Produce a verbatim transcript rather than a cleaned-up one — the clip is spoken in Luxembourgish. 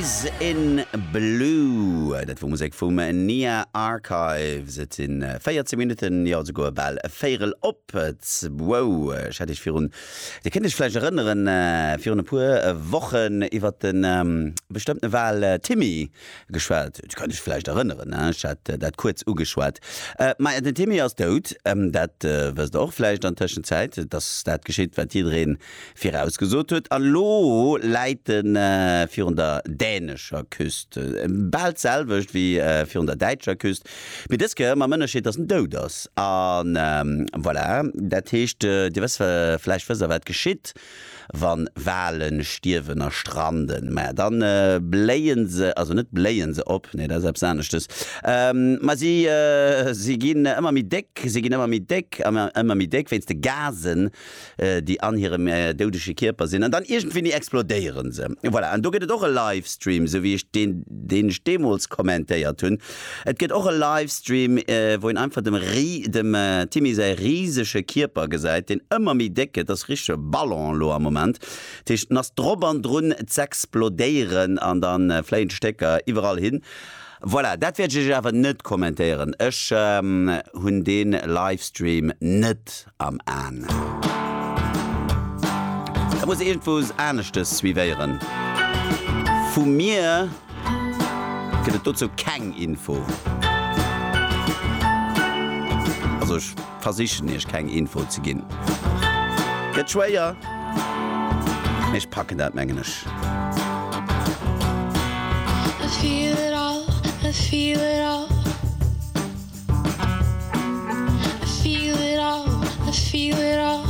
Eyes in Blue, dat wor Musek vum Nia Archives. Et sinn véierzéng Minutten, jo esouguer bal e Véierel op zwou. Ech hat iech virun, Dir kënnt iech vläicht erënneren, virun e puer Wochen iwwer de bestëmmte Wal Timmy geschwat. Dir kënnt iech vläicht erënneren, ech hat dat kuerz ugeschwat. Maja, den Timmy ass dout, dat wësst Der och vläicht an Tëschenzäit, dass dat geschitt, wat jidderee virausgesot huet. An elo läit e virun der dänescher Küst. Bal d'selwecht wéi virun der däitscher Küst, mee dës Kéier mam Ënnerscheed, dass en dout ass. A voilà, dat heescht, Dir wësst, vläicht wësst Der, wat geschitt, wa Wale stierwen a stranden. Maja, da bléie se, also net bléie se op, nee, dat ass eppes aneschtes, ma si, si ginn ëmmer méi déck, si ginn ëmmer méi déck, ëmmer méi déck wéinst de Gasen, déi an hirem doudege Kierper sinn, an dann iergendwéini explodéieren se. Voilà, an do gëtt et och e Livestream, esou wéi ech deen, deen ech deemools kommentéiert hunn. Et gëtt och e Livestream, wou een einfach dem Ri, dem Timmy säi risege Kierper gesäit, deen ëmmer méi déck gëtt, ass richtege Ballon elo am Moment. Dat heescht, en ass drop an drun z'explodéieren an da fléien d'Stécker iwwerall hin. Voilà, dat wäert ech iech awer net kommentéieren. Ech hunn dee Livestream net am An. Dat muss iergendwou aneschtes suivéieren. Vu mir gëtt et dozou keng Info. Also ech versichen iech keng Info ze ginn. Gëtt schwéier, mee ech packen dat mengen ech. I feel it all, I feel it all. I feel it all, I feel it all.